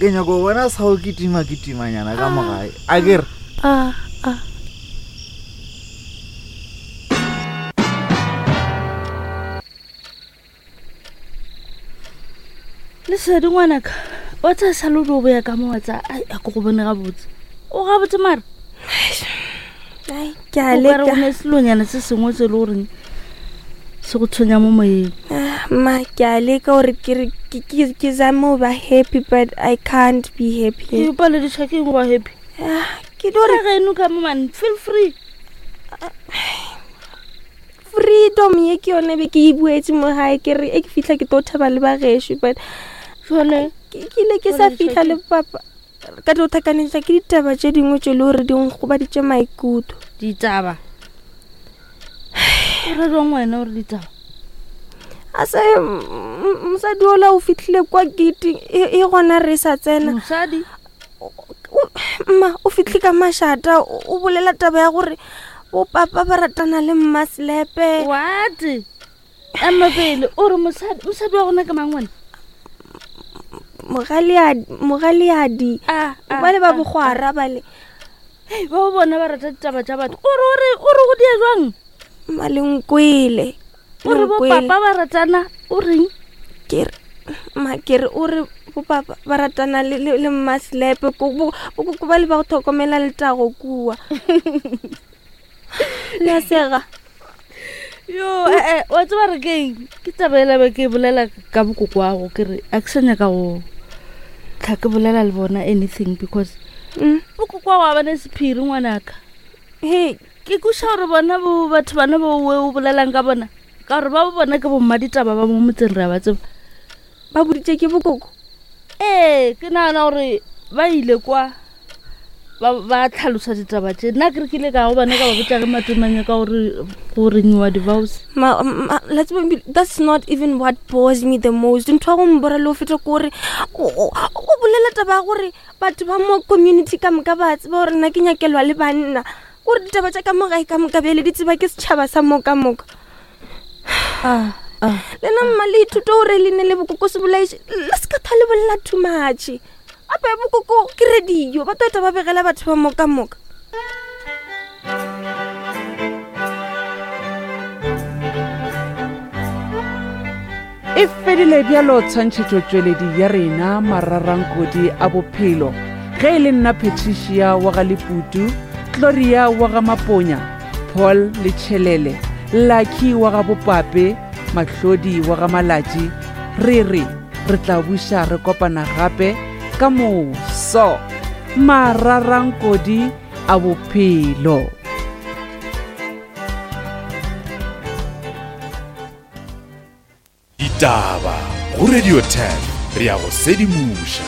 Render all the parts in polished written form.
Ke nyako go bona sa go kitima kitimanyana ka mo gae. A ke re. A a. Lesedi ngwanaka, wa tsaya sa le o boya ka mo wa tsaya ai a ke go bone gabotse. O gabotse mara? Ai, ke a O ka re leka. go ne selonyana se sengwe se e le goreng se go tshwenya mo moyeng. Ah, ma ke a leka gore ke re ke- ke ke zame go ba happy but I can't be happy. Ke palediša ke eng go ba happy? Ah, ke tlo Re re geno ka mo man, feel free. Freedom ye ke yone be ke e buetse mo gae ke re e ke fitlha ke tlo thaba le bagešo but Jwale ke ke ile ke sa fitlha le papa ka tlo thakanetša ke ditaba tše dingwe tše le gore di nkgobaditše maikutlo. Ditaba? O re jwang wena gore ditaba? A se mosadi ola o fitlhile kwa gate e, e gona re sa tsena. Mosadi? Mma o fitlhe ka mašata o bolela taba ya gore bo papa ba ratana le mma Selepe. What? Ema pele o re mosadi mosadi wa gona ke mang wena? Mogaleadi mogaleadi. Ah, ah, Ba le ba ah, bogwara ba le. Hei, ba bona ba rata ditaba tša batho. O re o re o re go dia jwang? Mma le nkwele. O re bo papa ba ratana o reng? Ke re mma ke re o re bo papa ba ratana le le, le mma Selepe ko bo bo ba le ba go tlhokomela letago kua. Le a sega. Yo, eh, eh, wa tseba re keng? Ke taba ela be ke bolela ka bokoko wa go ke re a ke sa nyaka go tlha ke bolela le bona anything because Mm. bokoko wa go a bane sephiri ngwanaka. Hey, Ke kweša gore bona bo batho bana bo we o bolelang ka bona ka gore ba bo bona ke bomma ditaba ba mo motseng re a ba tseba. Ba boditše ke bokoko? Ee, ke nagana gore ba ile kwa ba ba tlhalosa ditaba tše. Nna ke re ke ile ka go bona ka ba botša ge matomanya ka gore go renyiwa di-vows. Ma, ma, la tseba ebile, that's not even what bores me the most. Ntho ya go mbora le go feta ke gore o o bolela taba ya gore batho ba mo community ka moka ba tseba gore nna ke nyakelwa le banna. Gore ditaba tša ka mo gae ka moka bjale di tseba ke setšhaba sa mo ka moka. Ah, ah. Lena mma le ithute gore le ne le bokoko se bolaiše le se ka tha le bolela too much. Gape bokoko ke radio ba tota ba begela batho ba mo ka moka. E fedile bjalo tshwantšhetšotšweledi ya rena Mararankodi a Bophelo. Ge e le nna Patricia wa ga Leputu, Gloria wa ga Maponya, Paul le Tšhelele, Lucky wa ga Bopape, Mahlodi wa ga Malatši, re re re tla buša re kopana gape ka moso. Mararankodi a Bophelo. Ditaba go Radio 10 re ya go sedimoša.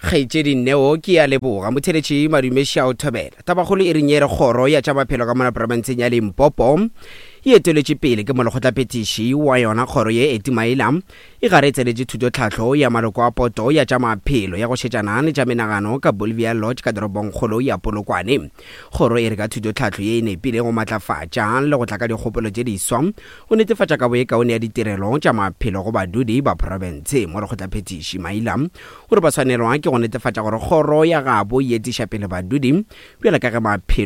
Kgaetšedi Neo ke ya leboga motheletši madumeši a o thobela. Tabakgolo e reng e re kgoro ya tša maphelo ka mona profenseng ya Limpopo e eteletše pele ke molekgotlaphethiši wa yona kgoro ye Eti Maila e gare e tsenetše thutotlhahlo ya maloko a poto ya tša maphelo ya go šetšana le tša menagano ka Bolivia Lodge ka toropongkgolo ya Polokwane. Kgoro e re ka thutotlhahlo ye e nepile go matlafatša le go tla ka dikgopolo tše diswa go netefatša kabo ye kaone ya ditirelo tša maphelo go badudi ba profense. Molekgotlaphethiši Maila o re ba swanelwa ke go netefatša gore kgoro ya gabo e etiša pele badudi bjalo ka ge maphelo.